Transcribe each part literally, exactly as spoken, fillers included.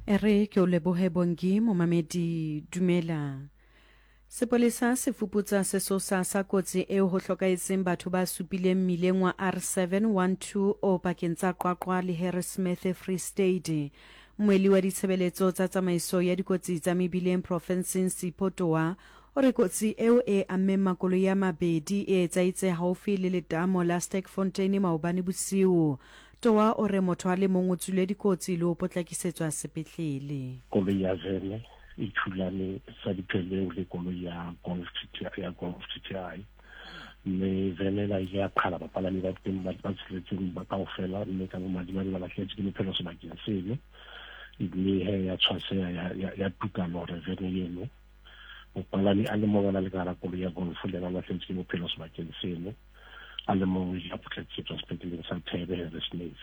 E re ke o lebohe Bongi momamedi dumela. Sepolesa se fuputsa sesosa sa kotsi eo ho hlokahetseng batho ba supileng mmileng wa R seven one two o pakeng tsa Qwaqwa le Harrismith Free State. Mmuelli wa ditshebeletso tsa tsamaiso ya dikotsi tsa mebileng profenseng Sipho Toa o re kotsi eo e ammeng makoloi a mabedi e etsahetse haufi le letamo la Sterkfontein maobane bosiu. Toa o re motho a le mong o tswile dikotsi le ho potlakisetswa sepetlele. Koloi ya vene e thulane sa dipheleu le koloi ya Golf G T I, ya Golf G T I. Mme vene ena ile ya qhala bapalami ba teng ba ba tsheletseng ba kaofela, mme ka bomadimabe ba lahlehetswe ke bophelo sebakeng seno. Mme he ya tshwaseha ya, ya, ya tuka lore vene eno. Mopalami a le mong a na le ka hara koloi ya Golf le yena a lahlehetswe ke bophelo sebakeng seno. A le mong o ile a potlakisetswa sepetleleng sa Thebe Harrismith.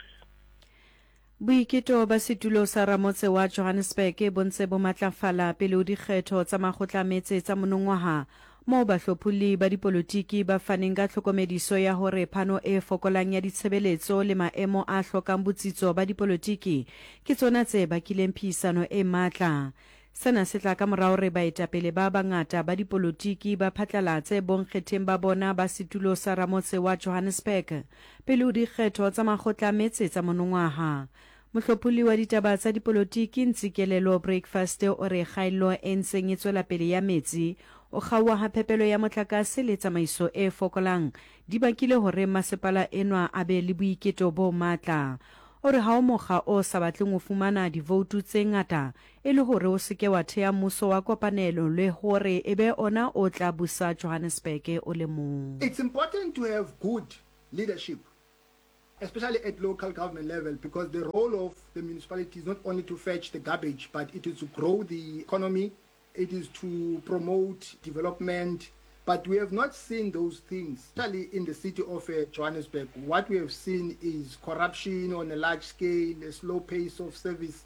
Boiketo ba setulo sa ramotse wa Johannesburg bo ntse bo matlafala pele ho dikgetho tsa makgotla a metse tsa monongwaha, moo bahlopholli ba dipolotiki ba faneng ka tlhokomediso ya hore phano e fokolang ya ditshebeletso le maemo a hlokang botsitso ba dipolotiki ke tsona tse bakileng phehisano e matla. Sena se tla ka mora hore baetapele ba bangata ba dipolotiki ba phatlalatse bonkgetheng ba bona ba setulo sa ramotse wa Johannesburg pele ho dikgetho tsa makgotla a metse tsa monongwaha. Mohlopholli wa ditaba tsa dipolotiki Ntsikelelo Breakfast o re kgaello e ntseng e tswela pele ya metsi, o kgaoha ha phepelo ya motlakase le tsamaiso e fokolang di bakile hore masepala enwa a be le boiketo bo matla. O re ha o mokga o sa batleng ho fumana divoutu tse ngata e le hore o se ke wa thea mmuso wa kopanelo le hore e be ona o tla busa Johannesburg o le mong. It's important to have good leadership, especially at local government level, because the role of the municipality is not only to fetch the garbage, but it is to grow the economy, it is to promote development. But we have not seen those things, especially in the city of, uh, Johannesburg. What we have seen is corruption on a large scale, a slow pace of service,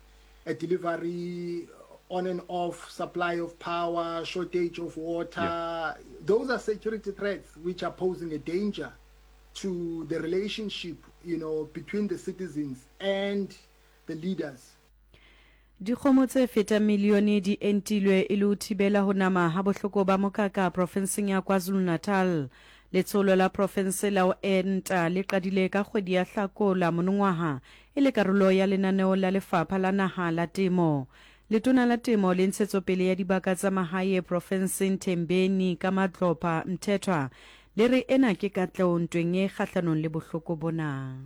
uh, delivery, on and off supply of power, shortage of water. Yeah. Those are security threats which are posing a danger to the relationship, you know, between the citizens and the leaders. Dikgomo tse fetang milione di entilwe e le ho thibela ho nama ha bohloko ba mokaka profenseng ya KwaZulu-Natal. Letsholo la profense la ho enta le qadile ka kgwedi ya Hlakola monongwaha e le karolo ya lenaneo la Lefapha la Naha la Temo. Letona la Temo le Ntshetsopele ya Dibaka tsa Mahae profenseng Thembeni ka Madlopha Mthethwa le re ena ke katleho ntweng e kgahlanong le bohloko bona.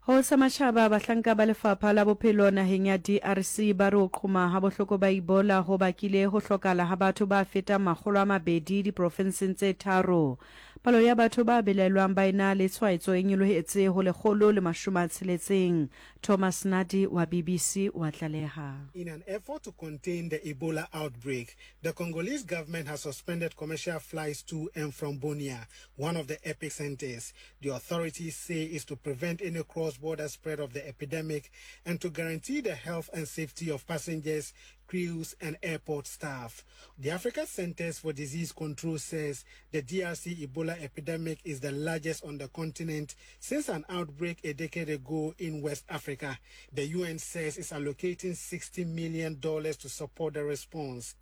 Ho sa matjhaba, bahlanka ba lefapha la bophelo naheng ya D R C ba re ho qhoma ha bohloko ba Ebola ho bakile ho hlokala ha batho ba fetang makgolo a mabedi diprofenseng tse tharo. Palo ya batho ba belaelwang ba ena le tshwaetso e nyolohetse ho lekgolo le mashome a tsheletseng. Thomas Nadi wa B B C wa tlaleha. In an effort to contain the Ebola outbreak, the Congolese government has suspended commercial flights to and from Bunia, one of the epicenters. The authorities say is to prevent any cross-border spread of the epidemic and to guarantee the health and safety of passengers, crews and airport staff. The Africa Centers for Disease Control says the D R C Ebola epidemic is the largest on the continent since an outbreak a decade ago in West Africa. The U N says it's allocating sixty million dollars to support the response.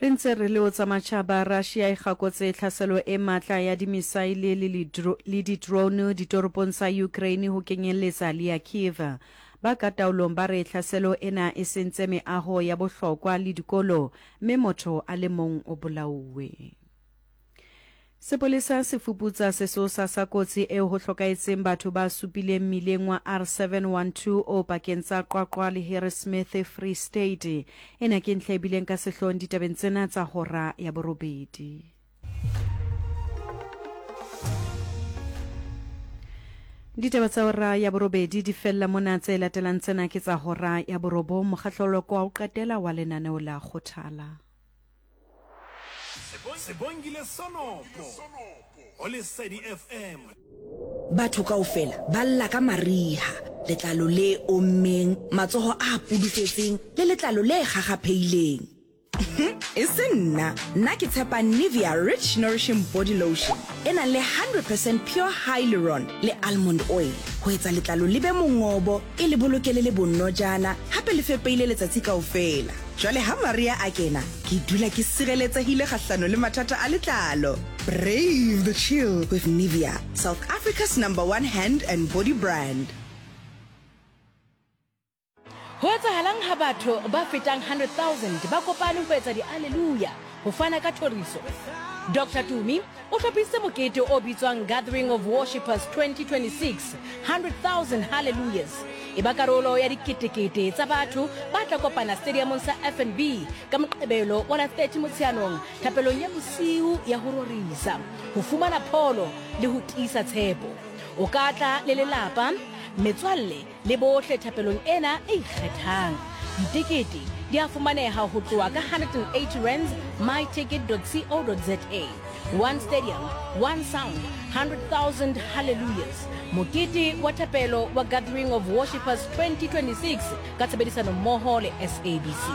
Re ntse re le o tsa matjhaba, Russia e kgakotse tlhaselo e matla ya dimisaile le le di-drone ditoropong tsa Ukraine ho kenyelletsa le ya Kiev. Ba ka taolong ba re tlhaselo ena e sentse meaho ya bohlokwa le dikolo, mme motho a le mong o bolauwe. Sepolesa se fuputsa sesosa sa kotsi eo ho hlokahetseng batho ba supileng mmileng wa R seven one two o pakeng tsa Qwaqwa le Harrismith Free State. Ena ke ntlha e bileng ka sehloohong ditabeng tsena tsa hora ya borobedi. Ditaba tsa hora ya borobedi di fella mona, tse latelang tsena ke tsa hora ya borobong, mokgahlelo wa ho qetela wa lenaneo la Kgothala. Sebongile Sonopo ho Lesedi F M. Batho kaofela ba lla ka mariha, letlalo le ommeng, matsoho a pudufetseng le letlalo le kgakgaphehileng. E se nna, nna ke tshepa Nivea Rich Nourishing Body Lotion e nang le one hundred percent pure hyaluron le almond oil ho etsa letlalo le be mongobo, e le boloke le le bonojana, hape le fepeile letsatsi kaofela. Jwale ha Maria a kena, ke dula ke sireletsehile kgahlano le mathata a letlalo. Brave the chill with Nivea, South Africa's number one hand and body brand. Ho etsahalang ha batho ba fetang hundred thousand ba kopane ho etsa di-alleluia ho fana ka thoriso? Doctor Tumi o hlophisitse mokete o bitswang Gathering of Worshippers twenty twenty-six, hundred thousand Hallelujahs. E ba karolo ya diketekete tsa batho ba tla kopana stadiumong sa F N B ka Moqebelo wa la thirty Motsheanong thapelong ya bosiu ya ho rorisa, ho fumana pholo le ho tiisa tshepo. O ka tla le lelapa, metswalle le bohle thapelong ena e ikgethang. Ditekete di a fumaneha ho tloha ka hundred and eighty rands my ticket dot co dot za. One stadium, one sound, hundred thousand hallelujahs. Mokete wa thapelo wa Gathering of Worshippers twenty twenty-six ka tshebedisano mmoho le S A B C.